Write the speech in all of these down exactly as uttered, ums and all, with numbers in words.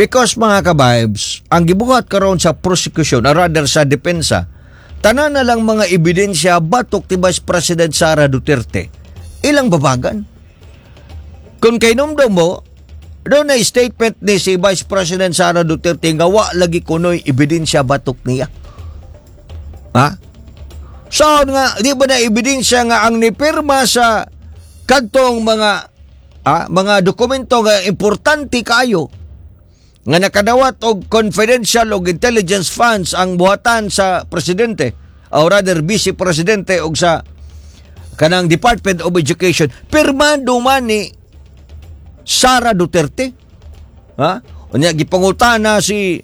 Because, mga ka-vibes, ang gibuhat karon sa prosecution, or rather sa depensa, tanan na lang mga ebidensya batok ti Vice President Sara Duterte. Ilang babagan. Kung kay numdum mo, doon na statement ni si Vice President Sara Duterte nga wa lagi kunoy ebidensya batok niya. Ha? So nga, di ba na ebidensya nga ang nipirma sa kadtong mga ah, mga dokumento nga importante kayo nga nakadawat og confidential og intelligence funds ang buhatan sa presidente or rather vice presidente og sa kanang Department of Education, pirmado man ni Sara Duterte, ha? Unya gipangutana si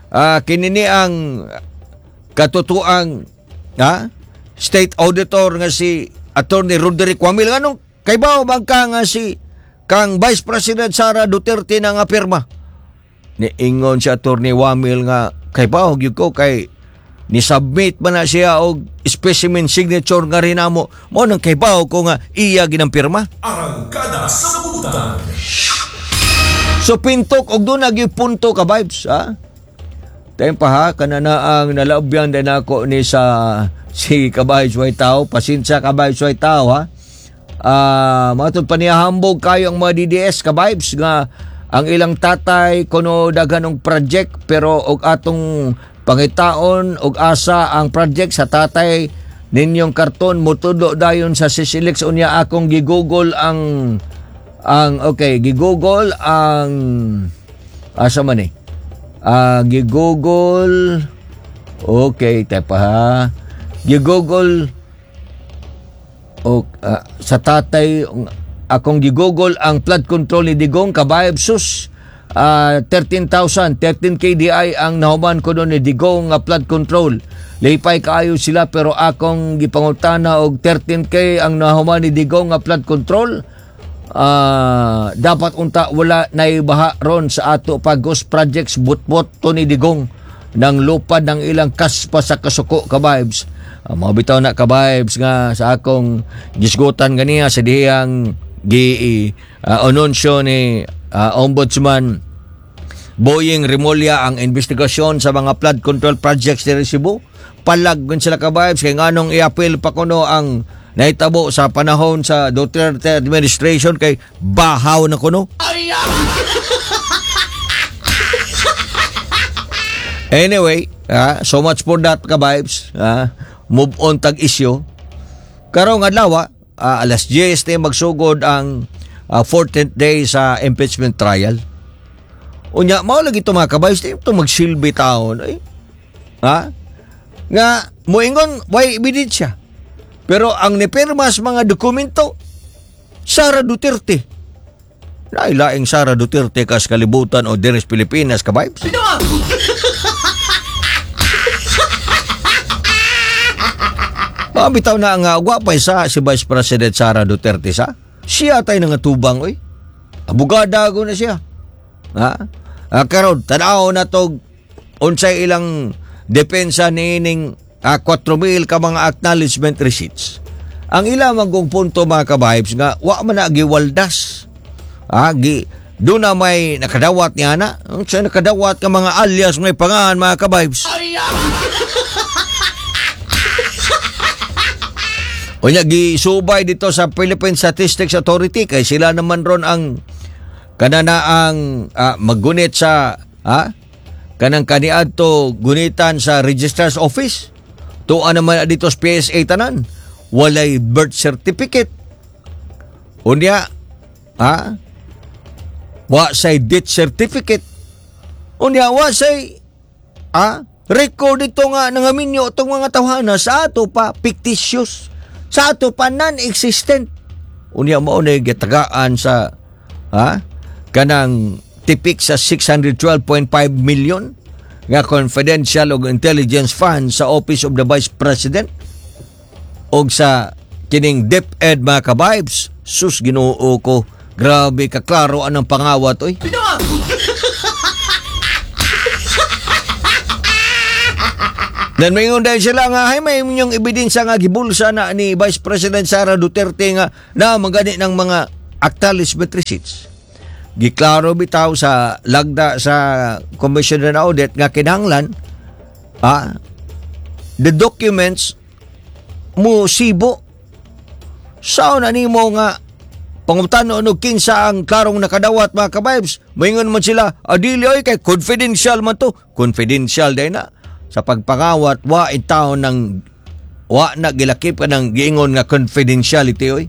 ah, kinini ang katutuang, ha, state auditor nga si Attorney Roderick Wamil, nganong kaybaw man ka nga si kang Vice President Sara Duterte na nga pirma? Niingon si Attorney Wamil nga kaybaw gyud ko kay ni submit man na siya og specimen signature nga rinamo mo nang kaybaw ko nga iya ginang pirma. Arangkada sa Butan. So pintok og doon nagi punto ka vibes, ha. Tayo pa ha, kanana ang nalaubyan din ako ni sa si Kabay Suway Tao. Pasensya, Kabay Suway Tao, ha. Ah, mga pa niya hambog kayo ang mga D D S ka vibes nga ang ilang tatay kuno daghan og project, pero og atong pangitaon og asa ang project sa tatay ninyong karton, mutudlo dayon sa Sisilix. Unya akong gigugol ang ang okay, gigugol ang asa man eh. Ah, gigugol, okay, tepa ha. Gigugol o ah, sa tatay akong gigugol ang flood control ni Digong kabayab sus, ah, thirteen thousand, thirteen K D I ang nahuman ko ni Digong nga flood control. Lipay kaayo sila, pero akong gipangutana og thirteen K ang nahuman ni Digong nga flood control. Ah, dapat unta wala naibaha ron sa ato pa. Ghost projects, butbot to ni Digong ng lupad ng ilang kaspa sa kasuko ka-vibes. Uh, mga bitaw na ka-vibes nga sa akong gisgutan ganiya sa dihang gi uh, anunsyo ni ah, Ombudsman Boying Remulla ang investigasyon sa mga flood control projects diri Cebu. Palag gun sila ka-vibes kay nganong i-appeal pa kuno ang nahitabo sa panahon sa Duterte administration kay bahaw na kuno. Anyway, ah, so much for that ka-vibes. Ah, move on tag issue. Karong adlaw, ah, alas diyes ni magsugod ang ah, fourteenth day sa impeachment trial. Unya, mao lagi ito, mga ka-vibes, di ito magsilbi taon. Eh. Ha? Nga, moingon, way ebidensya. Pero ang nipirma sa mga dokumento, Sara Duterte. Nailaing Sara Duterte kas kalibutan o deres Pilipinas, ka-vibes. Mga bitaw na nga, wa pa sa si Vice President Sara Duterte sa. Siya tayo nga tubang, oy. Abogada ko na siya. Ha? Ah, karon tanaw na to unsay ilang depensa niining ah, four mil ka mga acknowledgement receipts. Ang ilang manggong punto, mga ka-vibes, nga wa man na giwaldas. Ah, gi doon na may nakadawat niya na. Unsa nakadawat ka mga alias may pangalan, mga ka-vibes. Unya gisubay dito sa Philippine Statistics Authority kay sila naman ron ang kanana ang ah, maggunit sa ha kanang kaniadto gunitan sa Registrar's Office. Tuan naman na dito sa P S A tanan. Walay birth certificate. Unya ha wa say death certificate. Unya wa say ha record dito nga nangaminyo itong mga tawhana sa ato pa fictitious. Sa ato pa non-existent. Unya mao na gitagaan sa ha kanang tipik sa six hundred twelve point five million nga confidential og intelligence fund sa Office of the Vice President og sa kining DepEd, mga ka-vibes. Sus, Ginoo ko, grabe ka klaro anang pangawat oy. Then may dahil sila nga, hay may inyong ebidensya nga gibulsa na ni Vice President Sara Duterte nga na magani ng mga acknowledgement receipts. Giklaro bitaw sa lagda sa Commission on Audit nga kinahanglan ah, the documents mo sibo. Sao na nimo nga pangutano og kinsa ang klarong nakadawat, mga kabibes? Moingon man sila, adili oy, kay confidential man to. Confidential day na. Sa pagpangawat, wa in taon ng wa na gilakip ka ng giingon nga confidentiality oy.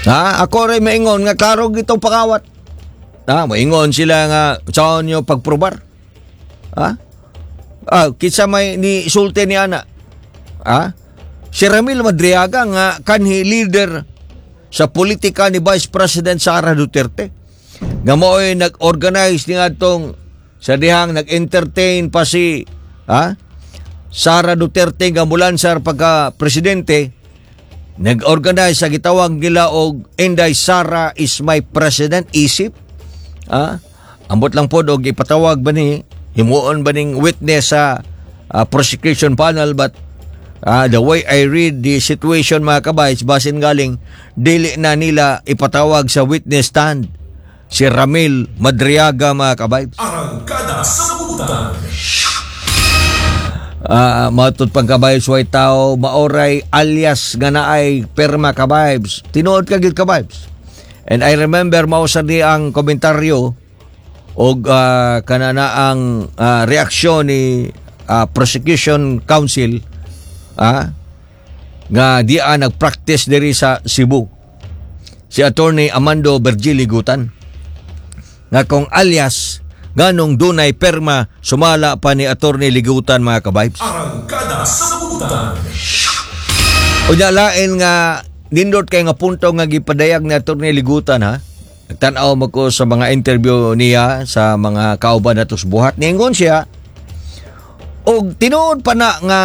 Ha, ako rin maingon nga klaro gitong pangawat. Ha, maingon sila nga saan nyo pagprobar. Ha? Ah, kinsa may ni sulti ni ana? Ha? Si Ramil Madriaga nga kanhi leader sa politika ni Vice President Sara Duterte. Nga mao'y nag-organize ni atong sa dihang nag-entertain pa si ha? Sara Duterte nga mulansar pagka presidente, nag-organize sa gitawag nila og "Inday Sara is my president" isip. Ha? Ambot lang pod og ipatawag ba ni, himuon ba ning witness sa ah, prosecution panel, but ah, the way I read the situation, mga kabays, basin galing dili na nila ipatawag sa witness stand si Ramil Madriaga, mga kabays. Arangkada sa Butan. Ah, matud pang kabaybs, way tao maoray alias nga naay perma, kabibes. Tinuod ka gid, kabibes. And I remember mao sa di ang komentaryo og uh, kanana ang ah, reaksyon ni ah, prosecution counsel ah, nga di a nagpractice diri sa Cebu, si Attorney Amando Virgil Gutan, nga kung alias, nganong dunay perma, sumala pa ni Attorney Ligutan, mga kabibes. Arangkada sa Butan. Unya lain nga nindot kay nga punto nga gipadayag ni Attorney Ligutan, ha. Nagtan-aw mo ko sa mga interview niya sa mga kauban nato sa buhat. Niingon siya og tinuod pa na nga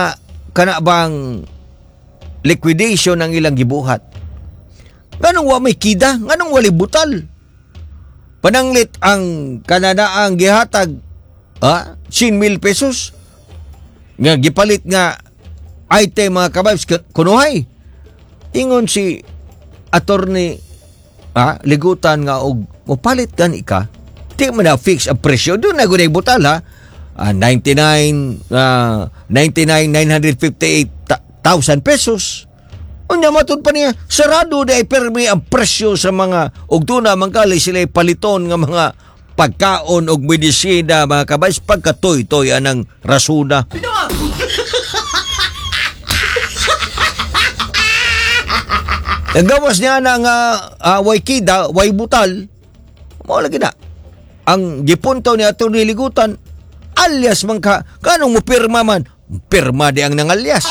kana bang liquidation ang ilang gibuhat. Nganong wa may kida? Nganong wali butal? Pananglit ang kananaang gihatag, ha, ten mil pesos nga gipalit nga item, mga kababs, kunuhay. Ingon si Attorney ah, Ligutan nga og mopalit gani ka, di man na fix ang presyo doon na gud butal, ha. Ah, ninety-nine ah, ninety-nine nine hundred fifty-eight thousand pesos. Unya matud pa niya, sarado di ay permi ang presyo sa mga og doon na mangkali sila paliton nga mga pagkaon og medisina, mga kabays, pagkatoy-toy anang rasuna. Ang gawas niya na nga uh, way kida, way butal, mao lagi na. Ang gipunto ni Atty. Ligutan, alias man ka, kanong mo pirma man, pirma di ang nangalyas.